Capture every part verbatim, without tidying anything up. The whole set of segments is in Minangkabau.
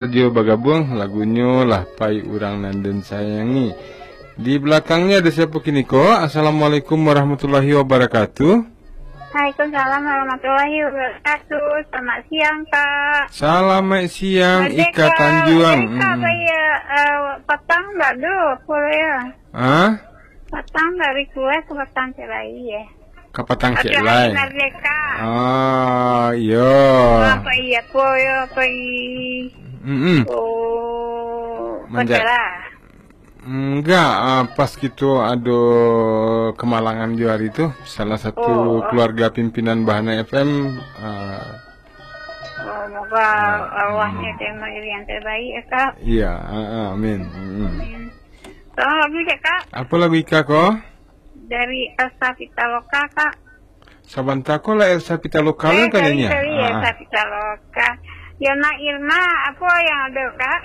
Sajo bagabuang, lagunyo Lah Pai Urang Nan Den Sayangi. Di balakangnya ada siapa kini ko? Assalamualaikum warahmatullahi wabarakatuh. Waalaikumsalam warahmatullahi wabarakatuh. Selamat siang, Kak. Selamat siang, Merdeka, Ika Tanjuang. Merdeka, Mm-mm. Apa ya, eh, patang ndak do, apa ya? Hah? Patang ndak request, patang cerai ya. Kapatang Abdul cek Halim lai. Merdeka. Ah, iyo. Apa iya, apa iya, apa i-, Mm-mm. Oh, Manja- pacaran. Enggak, ah, pas kito ado kemalangan jo hari tu, salah satu Oh. keluarga pimpinan Bahana F M, ah, Oh, moga Ah, arwahnya mm. terima yang terbaik ya, Kak. Iya, ah, ah, amin. Mm-mm. Amin. Tolong lagu cek, Kak. Apa lagu Ika ko? Dari Elsa Pitaloka, Kak. Sabanta ko lah Elsa Pitaloka Eh, kan sorry, nyanyi? Sorry, Ah. Elsa Pitaloka. Yona Irma, apa yang ada, Kak?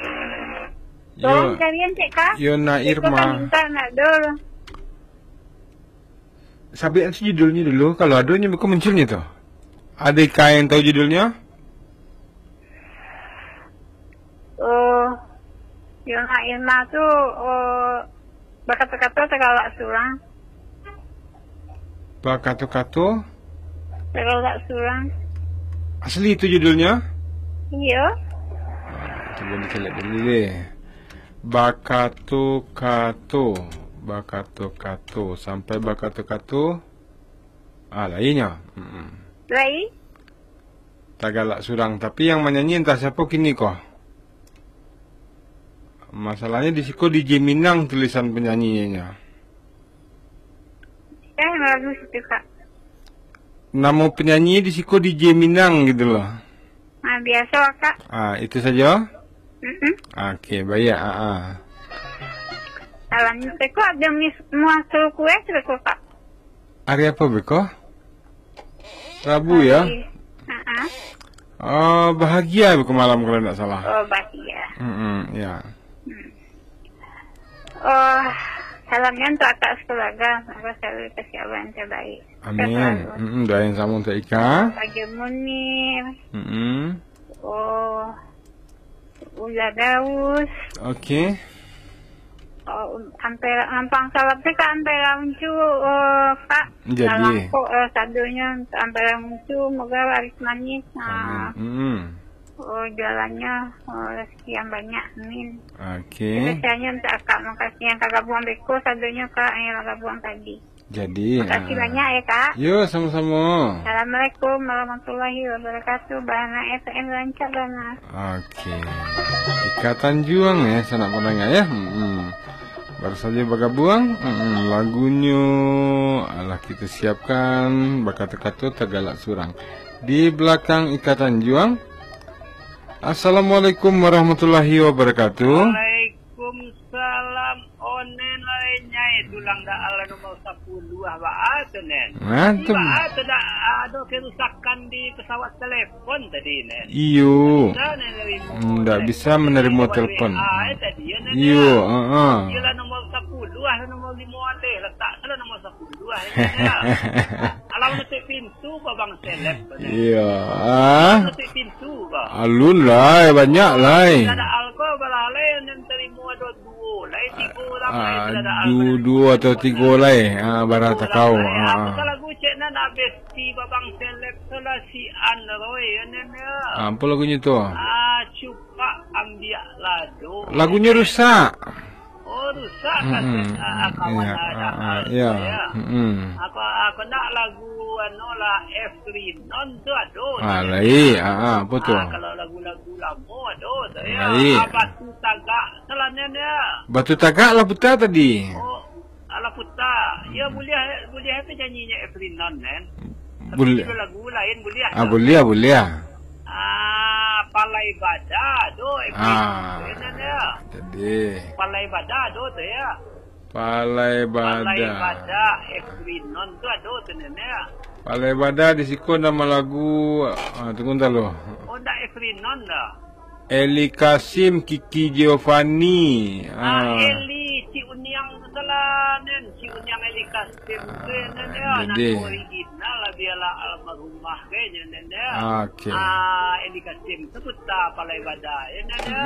Tolong Yo-, carian cek, Kak. Yona Iko Irma. Kan minta nak dulu. Sabian si judulnya dulu, kalau ada nyo beko munculnya tu. Ada Ika yang tahu judulnya? Oh, Yona Irma tu, oh, bakato-kato tagalak surang. Bakato-kato? Tagalak surang. Asli itu judulnya? Iyo. Ah, cuba dicaliak dulu deh. Bakato-kato, bakato-kato, sampai bakato-kato. Ah, lainnya. Mm-mm. Lai? Tagalak surang, tapi yang manyanyi entah siapa kini ko. Masalahnya di siko D J Minang tulisan penyanyinya. Eh, lagu situ, Kak. Nama penyanyi di siko D J Minang gitu loh. Ah, biasa, Kak. Ah, itu saja? Mm-mm. Oke, baik. Ah, ah. Salam. Beko ada mis-, muncul kue, beko, Kak. Hari apa beko? Rabu ya? Hari, ha-ha. Oh, bahagia beko malam kalau tidak salah. Oh, bahagia. Mm-mm, ya. Hmm. Oh, salamnya untuk akak sekeluarga. Semoga selalu dikasih Allah yang terbaik. Amin. Sehat selalu. Mm-mm, doa yang sama untuk Ika. Raja Munir. Mm-mm. Oh, Ula Daus. Oke. Oh, Ampera, Ampang Salap tu kan Ampera Uncu, oh, Kak. Jadi. Lalangkok, eh, sadonyo Ampera Uncu, moga laris manis. Nah. Amin. Mm-mm. Oh, jualannya, oh, rezeki yang banyak. Amin. Oke. Spesialnya untuk akak, makasih yang kagabung beko sadonyo, Kak, yang kagabung tadi. Jadi, Makasih ah. banyak ya, Kak. Yo, sama-sama. Assalamualaikum warahmatullahi wabarakatuh. Bahana F M rancak bana. Oke. Ika Tanjuang ya, sanak pandanga ya. Mm-mm. Baru saja bagabuang, mm-mm, lagunyo alah kita siapkan, bakato-kato tagalak surang. Di belakang Ika Tanjuang. Assalamualaikum warahmatullahi wabarakatuh. Waalaikumsalam. Onen lai nyai tulang daal nomor sapuluah, baa tu, Nen? Nah, tu. Baa tu dak ado kerusakan di pesawat telepon tadi, Nen? Iyo. Bisa, Nen, limo, Ndak Nen, bisa menerima telepon. W A, eh, tadi, ya, Nen, Iyo, ya? heeh. Iyalah nomor sapuluah, nomor limo alih, letak salah nomor sapuluah, ya, Nen, ya? Alah, menutup pintu, Babang Seleb, Nen. Iyo, ah. Menutup pintu, Bang. Alun lai, banyak lai. Tidak ada alkohol, balalai, Nen, terima ada duo lai, tigo urang lai, Ah, tidak ada du-, alkohol. duo atau tigo lai. Ah, barang Tigo takau. urang lai. Ah, Apa ah. salah gucek nan habis si Babang Seleb tu lah si Anroy, ya, Nen, ya. Ah, apa lagunyo tu? Ah, cupak ambiak lado. Lagunyo rusak. Oh, rusak kaset, Mm-mm. ah, ah, kawan Iya, ada ah, ah, hal iya. tu, ya. Mm-mm. Apa, ah, kena lagu, anu lah, F Rinon tu ado, Ah, tu, lain. ya. Ah, ah, apa tu? Ah, kalau lagu-lagu lama ado, tu, ya. Lain. Ah, Batu Tagak, selanen, ya. Batu Tagak lah putar tadi. Oh, alah putar. Ya, Hmm. boleh, boleh apa nyanyinya F Rinon, Nen? Tapi Boleh. judul lagu lain boleh Ah, tak? boleh, boleh. Ah, Palai Bada tu, F Rinon Ah, tu, Nen, ya. jadi. Palai Bada tu, tu, ya. Palai Palai Bada. Bada, F Rinon tu ado tu, Nen, ya. Palai Bada di siko nama lagu, ah, tunggu entah lo. Oh, ndak F Rinon dah. Eli Kasim, Kiki Giovanni. Ah, Ah. Eli, Cik Uniang tu salah, Nen. Cik Uniang Eli Kasim tu, Ah, Nen, ya. Nan jadi. original lah, Dialah almarhumah kayaknya, Nanda. Oke. Ah, Edi Kasim, seputar pala ibadah, ya, Nanda.